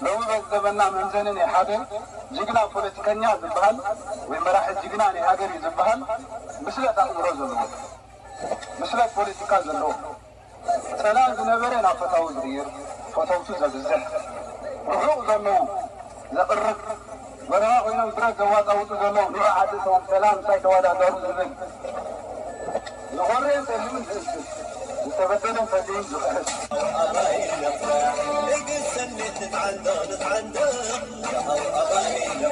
ሎሚ በዚ ዘበንና መምዘኒ ናይ ሓደ ጅግና ፖለቲከኛ ዝበሃል ወይ መራሒ ጅግና ናይ ሃገር እዩ ዝበሃል ብስለት ኣእምሮ ዘለዎ፣ ብስለት ፖለቲካ ዘለዎ፣ ጸላም ዝነበረ ናብ ፈታዊ ዝቕይር፣ ፈተውቱ ዘብዝሕ፣ ርሑቕ ዘለዉ ዘቕርብ፣ በረኻ ኮይኖም ብረት ዘዋጣውጡ ዘለዉ፣ ንዑ ዓዲ ሰላም እንታይ ተወዳደሩ ዝብል፣ ዝኾረየን ጸሊምን ዝእስስ፣ ዝተበደለን ፈዲዩን ዝኽሕስ።